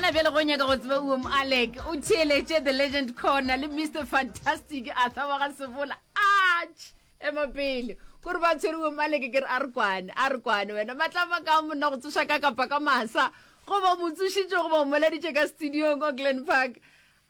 Gona bjale go nyaka go tseba Uom Alec o theeletše The Legend Corner le Mr Fantastic Arthur wa ga Sebola. Atš! Ema pele. Kore ba tshwere Uom Alec ke re a re kwane, a re kwane wena. Matlama ka monna go tsoša ka kapa ka masa. Goba o mo tsošitše goba o moladitše ka studiong ko Glen Park.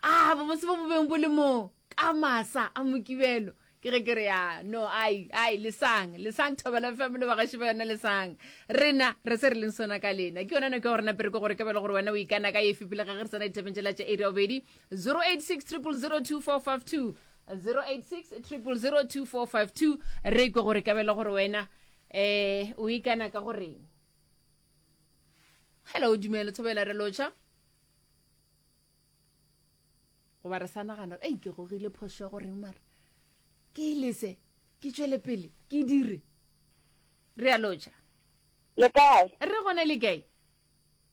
A bobose bo bo beng bo le moo ka masa a Mokibelo. Ke ge ke re, ya, no, ai, ai, lesang, lesang Thobela FM le bagaši ba yona, lesang. Rena, re se re leng sona ka lena. Ke yona nako ya gore nape re kwe gore ka bjalo gore wena o ikana ka efe pele ga ge re tsena dithabeng tšela tša iri ya bobedi, 086 000 2452, 086 000 2452, re kwe gore ka bjalo gore wena eh o ikana ka goreng. Hello, dumela Thobela, re lotšha. Goba re sa nagana gore, ei, ke gogile phošo ya goreng mara ke e lese, ke tšwele pele, ke dire. Re a lotšha. Le kae? Re gona le kae?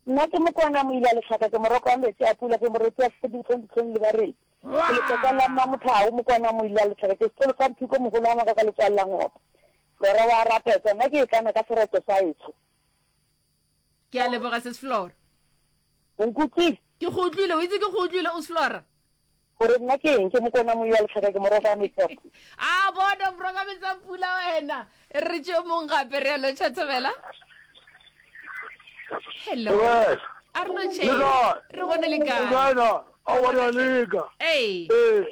Nna ke Mokwana Moila Lehlaka, ke moroko wa metsi a pula, ke moretsi wa sefo dihlong dihlong le bareng. Ke letlotla la Mmamothao, Mokwana Moila Lehlaka, ke sekolo sa Mphiko mogolo wa ngaka ka letswalo la Ngope. Flora wa rapetsa, nna ke ikana ka sereto sa etsho. Ke a leboga sis Flora. O nkutlwile? Ke go utlwile, o itse ke go utlwile o Flora. Gore nna ke eng? Ke mokona moyi wa letlhaka, ke morogo wa metsi a pula. A bona morogo wa metsi a pula wena. Re tšeo mong gape re a lotšha thobela. Hello. A re lotšhe. Re gone le kae? Aowa re a leka. Ee. Ee.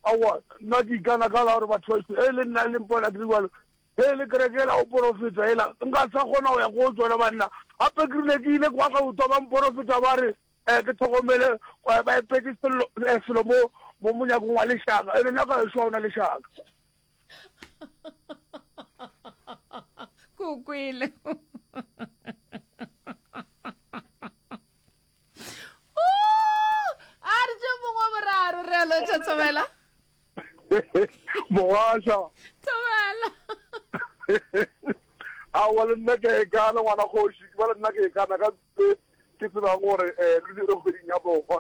Aowa nna ke ikana ka la gore batho ba e le nna le mpona ke le jalo Ge e le kereke yela go porofeta yela, nka sa kgona go ya ko tsona banna. Gape ke rile ke ile kwa Gautwa ba mporofeta ba re um ke tlhokomele ba epetše sello eh, selo mo mo monyakong wa lešaka. Ene nna ka ešo ga ona lešaka. Ko kwele. A re tše mongwe wa boraro re a lotšha thobela. Mogasha. Thobela. Aowa le nna ke a ikana ngwana kgoši, ke ba le nna ke ikana ka tse ke tsebang gore um re dire kgweding ya bohwa.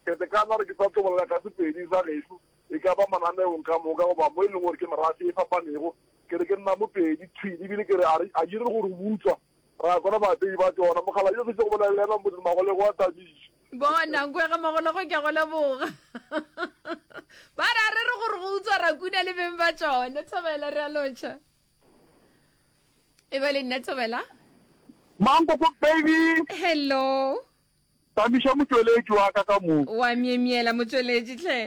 Ke te kana gore ke sa tlo bolela ka Sepedi sa gešo, e ka ba mananeong ka moka goba mo e leng gore ke merafe e fapanego. Ke re ke nna Mopedi thwi ebile ke re a re a dire gore utswa Ra kwana baapei ba tšona. Mokgalabje yo fetše go bolela le yena Moses Magolego wa tabišo. Bona, Nkwega Magolego ke a go leboga. Ba re a re re gore go utswa ra kuna le beng ba tšona. Thobela re a lotšha. E ba le nna Thobela. Mankoko baby. Hello. Tamiša motšweletši wa ka ka mo. Wa myemyela motšweletši hle.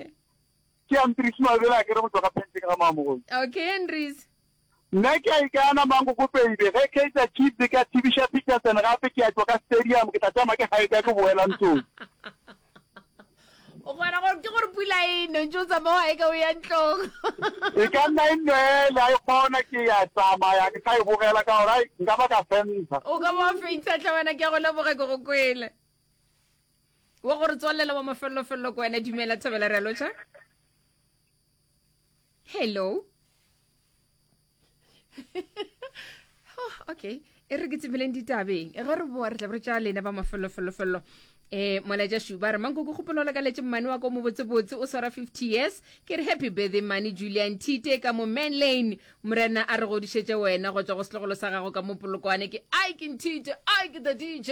Ke Andries Mabele a ke re go tšwa ka Penteng ga Mamogolo. Okay Andries. Nna ke a ikana Mankoko baby ge Kaizer Chiefs e ka thibiša Peterson gape ke a tšwa ka stadium ke tla tšama ke hiker ke boela ntlong. O kgona gore ke gore pula e ne ntse o tsamaya wa eka o ya ntlong. E ka nna e nwele a e kgona ke ya tsamaya ke sa e bogela ka gore ai nka ba ka fentsha. O ka ba wa fentsha tlhe wena ke a go leboga ke go kwele. Wa gore tswalela wa mafelelo-felelo ko wena dumela thobela re a lotšha. Hello. oh, okay e re ke tsemeleng ditabeng ge re boa re tla re tša lena ba mafelofelofello eh molaetša šuba re mankoko kgopelo le ka letse mmane wa ko mobotsebotse o swara 50 years ke re happy birthday mane julian thite ka mo man lane morena a re godišetše wena go tswa go setlogolo sa gago ka mo polokwane ke ai ke nthite ai ke the dj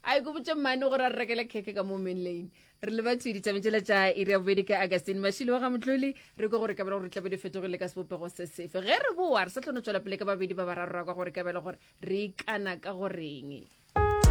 ai ko botše mmane gore a re rekele khekhe ka mo man lane Re leba thwi ditabeng tšela tša iri ya bobedi ka Augustine Mashilo wa ga Motloli. Re kwe gore kabelo gore tlabe di fetogile ka sebopego se sefe. Ge re boa re sa tlo no tšwela pele ka babedi ba bararo ra kwa gore kabelo gore re ikana ka goreng.